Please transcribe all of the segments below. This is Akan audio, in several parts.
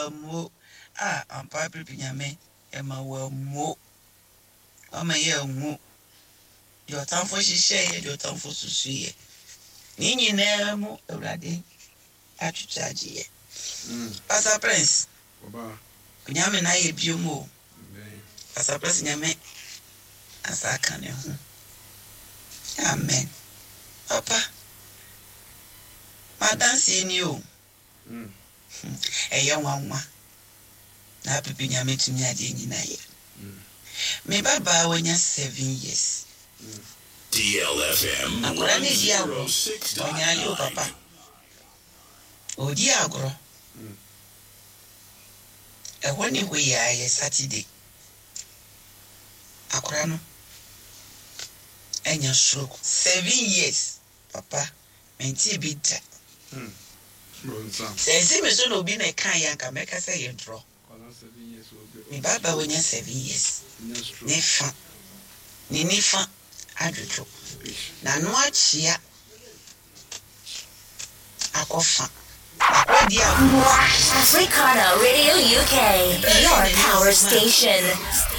Wammuo a ampa Apirepi Nyame ɛma wammuo Wama yɛanwu Deɛ ɔtamfo hyehyɛeɛ Deɛ ɔtamfo susuiɛ Ne nyinaa mu Awurade atwitwa agye yɛ Pastor Prince Onyame na ayɛ biom o Pastor Prince Nyame asa aka ne ho Amen Papa M'adanseɛ ni o Ɛyɛ nwanwa na apepe Nyame tumi adeɛ nyina yɛ. Me ba baa wanya 7 years. DLFM Akwadaa no redi agorɔ, ɔnyaale o 106.9. papa. Ɔredi agorɔ. Ɛhɔ ne hɔ yi ara yɛ Saturday. Akwadaa no anya stroke 7 years papa. Mentee bi da. Sɛ ɛnsi me so na obi na ɛkaeɛ a, anka mɛka sɛ ɛyɛ ntorɔ. Me ba ba wanya 7 years ne fa, ne nifa adwodwo, n'ano akyea akɔ fa. Akɔdi agorɔ. Africana Radio UK, your power station.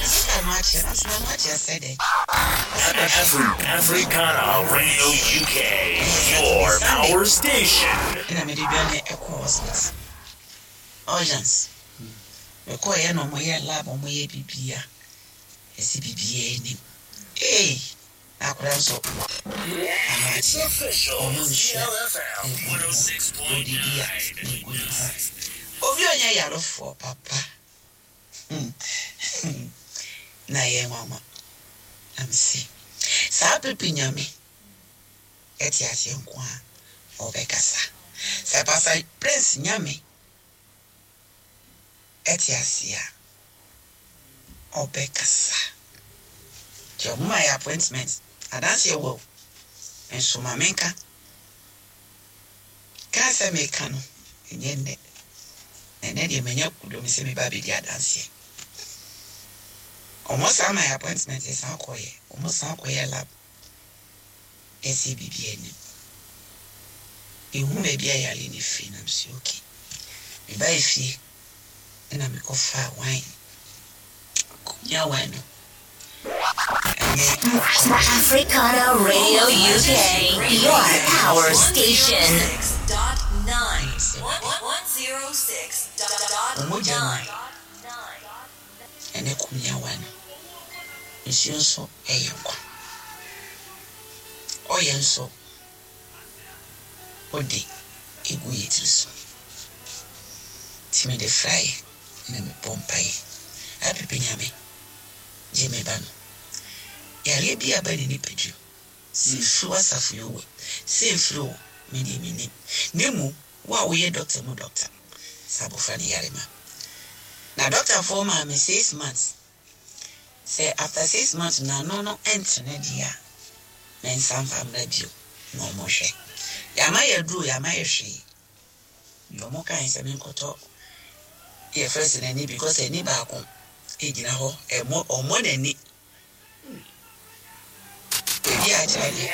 Sɛ n'ano akyea, na sɛ n'ano akyea sɛ dɛn? Ɔsɛ bɛhwɛ. Africana Radio UK, your power station. Ɛna mede dwane ɛkɔ hospital. Urgence. Mekɔɔyɛ na ɔmoyɛ lab, ɔmoyɛ bibia. Ɛsi biribiara anim. Ei! Na akwadaa nso ano akyea. Ɔno nsuo a egu ne ho. Odidi a na egu ne ho. Obi a ɔnyɛ yarefoɔ papa. Na ɛyɛ nwanwa. Na mese saa pepe Nyame ɛte aseɛ nko a ɔbɛkasa. Sɛ Pastor Prince Nyame ɛte aseɛ a ɔbɛkasa. Nti ɔmo ma yɛ appointment. Adanseɛ wɔ o. Nso ma menka. Ka sɛ meka no ɛnyɛ nnɛ. Na ɛnnɛ deɛ manya kudom sɛ meba abɛdi adanseɛ. Ɔmo san ma yɛ appointment yɛsan kɔyɛ. Ɔmo san kɔyɛ lab. Ɛsɛ biribi anim. Ehu baabi a yare no firi na mese okay. Mebaa efie ɛna mekɔfaa wine. Kɔmia wine no. Ɛne Africana Radio UK, your power station. Ɔmogya no ɛne kɔmia wine no. Nsuo nso ɛyɛ nkwa. Ɔyɛ nso ɔde egu yɛ tiri so. Nti mede fraeɛ na mebɔ mpaeɛ. Apepe Nyame gye me ba no. Yareɛ bi a aba ne nipadua mu. Sɛ ɛfiri w'asafo yi o, sɛ ɛmfiri o, me deɛ mennim. Na mmom wo a woyɛ doctor mu doctor, sɛ abɔfra no yare ma. Na doctorfoɔ maa me 6 months. Sɛ after 6 months n'ano no ɛntene deɛ a, mensa mfa mmra bio na ɔmo hwɛ. Yɛama yɛ aduro, yɛama yɛ hwee. Deɛ ɔmo kae sɛ menkɔtɔ yɛfrɛ sɛ n'ani because ani baako egyina hɔ ɛmɔ ɔmmɔ n'ani. Baabi a akyerɛ deɛ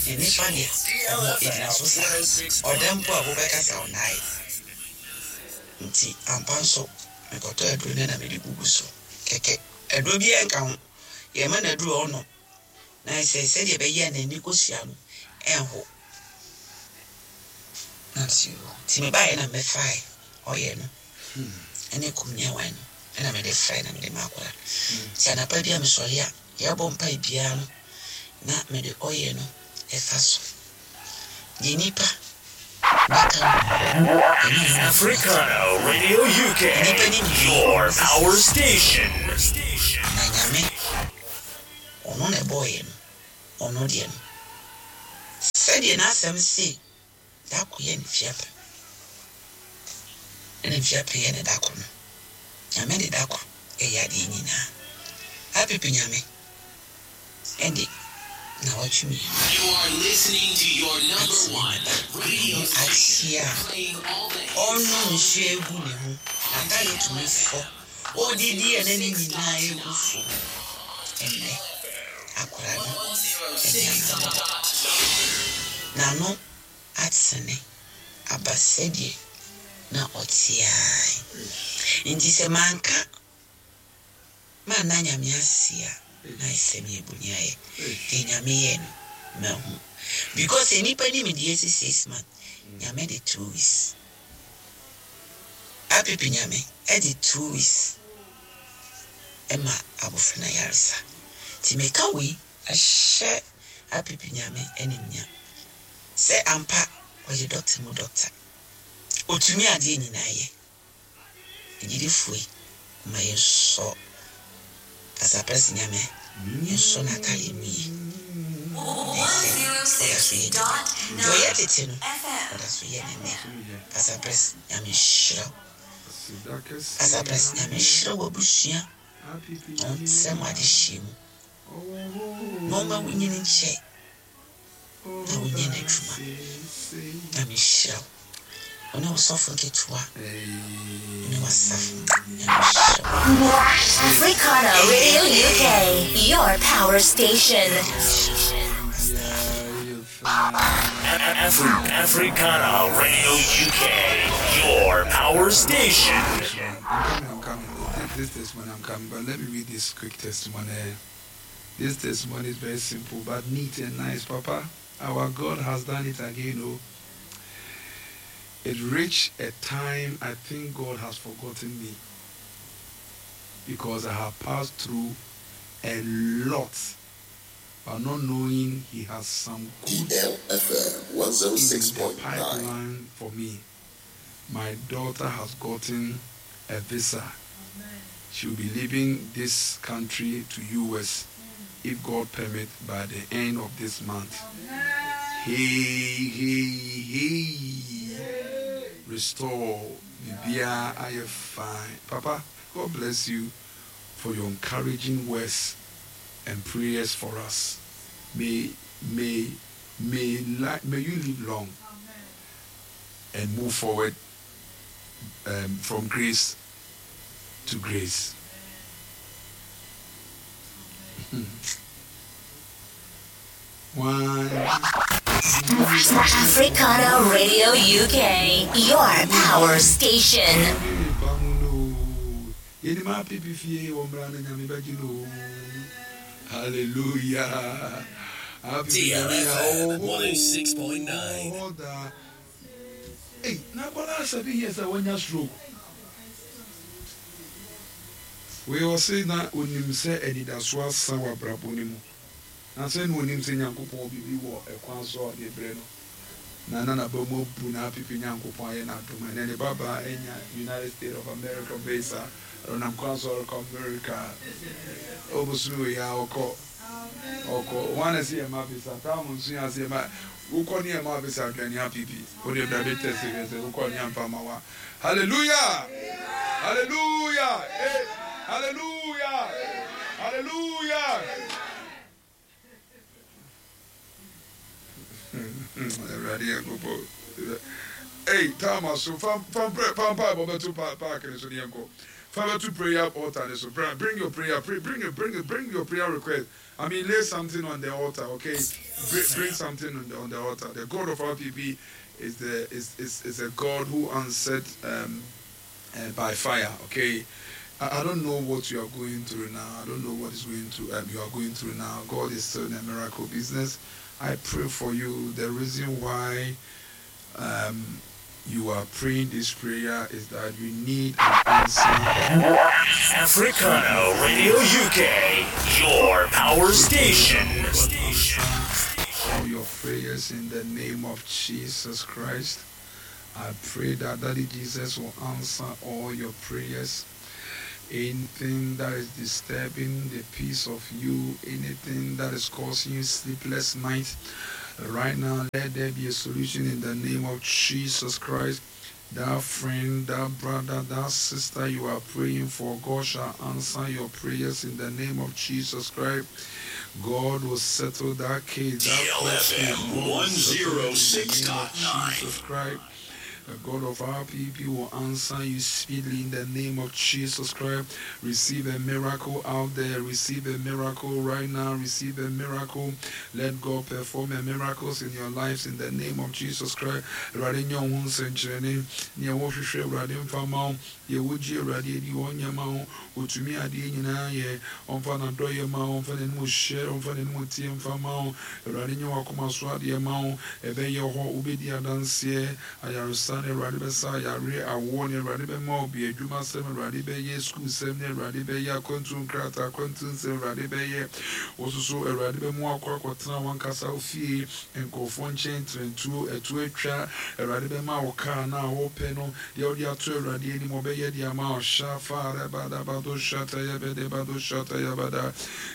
ne nifa deɛ ɔmmɔ egyina so saa. Ɔda mpo a wobɛka sɛ ɔnnae. Nti ampa nso mekɔtɔ aduro no na mede gugu so kɛkɛ. Aduro biara nka ho. Yɛma no aduro a ɔnom. Na sɛ sɛdeɛ ɛbɛyɛ a n'ani kosua no ɛnho. Na nti nti mebaeɛ na mɛfae ɔyɛ no ɛne kɔmia wine no ɛna mede frae na mede ma akwadaa. Nti anapa bi a mesɔre a yɛbɔ mpae biara no na mede ɔyɛ no ɛfa so. Deɛ nipa bɛka no ɛnyɛ ɔno na Africana Radio UK, Nipa ni nimdeɛ. your power station. Na Nyame ɔno na ɛbɔɔyɛ no ɔno deɛ no sɛdeɛ n'asɛm se dako yɛ ne fiapɛ ɛna mfiapɛ yɛ ne dako no Nyame de dako ɛyɛ adeɛ nyinaa apepe Nyame ɛde na watwe mmienu You are listening to your number atene one ne ba radio n'ano station, akyea a playing all the hits. Ɔnom nsuo egu ne ho n'atadeɛ tumi fɔ odidi a n'ani nyinaa egu fam. Ɛnnɛ akwadaa no anya n'ano n'ano atene aba sɛdeɛ. Na ɔte ara. Nti sɛ manka manna Nyame ase a, na ayɛ sɛ meyɛ boniayɛ. Deɛ Nyame yɛɛ no, mahu. Because sɛ nnipa nim deɛ asi 6 months, Nyame de 2 weeks. Apipi Nyame de 2 weeks ma abɔfra no ayaresa. Nti meka wei ahyɛ Apipi Nyame animuonyam sɛ ampa ɔyɛ doctor mu doctor. Ɔtumi adeɛ nyinaa yɛ. Agyidifoɔ yi, momma yɛnsɔ Asaprɛse Nyame, yɛnsɔ n'atadeɛ mu yie. Na ɛsɛ ɔda so yɛ Nyame. Deɛ ɔyɛ tete no, ɔda so yɛ no nnɛ. Asaprɛse Nyame nhyira wo. Asaprɛse Nyame nhyira w'abusua na ɔntrɛ mo adehyeɛ mu na ɔmma wo nyini nkyɛ na wonyɛ n'adwuma. Nyame nhyira wo. Wo ne wo sɔfo nketewa ne w'asafo. Nyame nhyira wo. Africana Radio UK, your power station. Africana Radio UK, your power station. I'm coming, I'm coming. This testimony, I'm coming. But let me read this quick testimony. This testimony is very simple but neat and nice. Papa, our God has done it again. Oh. It reached a time I think God has forgotten me because I have passed through a lot, but not knowing He has some good DLFM in the 106.9. pipeline for me. My daughter has gotten a visa. She will be leaving this country to US if God permit by the end of this month. Hey, hey, hey. Restore. Bibia, I am fine. Papa, God bless you for your encouraging words and prayers for us. May you live long and move forward from grace to grace. One. Africana Radio UK, your power station. Yɛnim apipi fie wɔ mmara no Nyame bɛgye no. Hallelujah. DLFM 106.9. Ɔda. Ei, na akwadaa 7 years a wanya stroke wei, ɔse na onim sɛ anidaso asa wɔ abrabɔ no mu, na sɛ na onim sɛ Nyankopɔn biribi wɔ ɛkwan so a ɔde brɛ no, na naba mu abu na apipi. Nyankopɔn ayɛ n'adom, ɛnɛ ne babaa anya United States of America visa. Ɔnam kwan so ɔrekɔ America. Ɔbosome wei a ɔkɔ ɔkɔ wɔn a ɛsɛ yɛ ma visa taamu nso yɛ ase yɛ ma wokɔ ne yɛ ma visa aduane apipi o de bra bi tɛsi hwɛ sɛ wokɔ ne yɛ nfa ma wa. Hallelujah, hallelujah, eh, hallelujah, hallelujah. Awurade yɛ nkɔpɔ. Ei, taama so fa fa fa mpa ɛbɔ bɛto paaki ne so ne yɛn kɔ fa bɛto prayer altar ne so. Bra, bring your prayer, pray, bring it, bring it, bring your prayer request. I mean, lay something on the altar, okay? Bring something on the altar. The God of our PP is the is a God who answered by fire, okay? I don't know what you are going through now. I don't know what is going to you are going through now. God is still in a miracle business. I pray for you. The reason why you are praying this prayer is that you need an answer. Africana Radio UK, your power station. All your prayers in the name of Jesus Christ. I pray that Daddy Jesus will answer all your prayers. Anything that is disturbing the peace of you, anything that is causing you sleepless nights, right now, let there be a solution in the name of Jesus Christ. That friend, that brother, that sister you are praying for, God shall answer your prayers in the name of Jesus Christ. God will settle that case. That court case, DLFM God will settle it in the name of 106.9. Jesus Christ. The God of our people will answer you speedily in the name of Jesus Christ. Receive a miracle out there. Receive a miracle right now. Receive a miracle. Let God perform a miracles in your lives in the name of Jesus Christ. Awurade nyɛ wo ho nsɛnkyerɛnne. Nea wɔhwehwɛ Awurade mfa ma wo. Deɛ wogye Awurade adi ɔnyɛ ma wo. Otumi adeɛ nyinaa yɛ. Ɔmfa n'adɔyɛ ma wo. Ɔmfa n'anim hyɛ. Ɔmfa n'anim tie mfa ma wo. Awurade nyɛ w'akoma so adeɛ ma wo. Ɛbɛyɛ hɔ. Wobɛdi adanseɛ. Ayaresa ne Awurade bɛsa ayare awoɔ ne Awurade bɛma wo bi adwuma sɛm Awurade bɛyɛ sukuu sɛm ne Awurade bɛyɛ akwantuo nkrataa akwantuo nsɛm Awurade bɛyɛ. Wo soso Awurade bɛma wakɔ akɔtena wankasa wo fie nkurɔfoɔ nkyɛn trɛntuo ɛto atwa Awurade bɛma wo kaa na a wopɛ no deɛ wode ato Awurade anim ɔbɛyɛ de ama wo. Shafa rebadabado shatayabedebado shatayabada.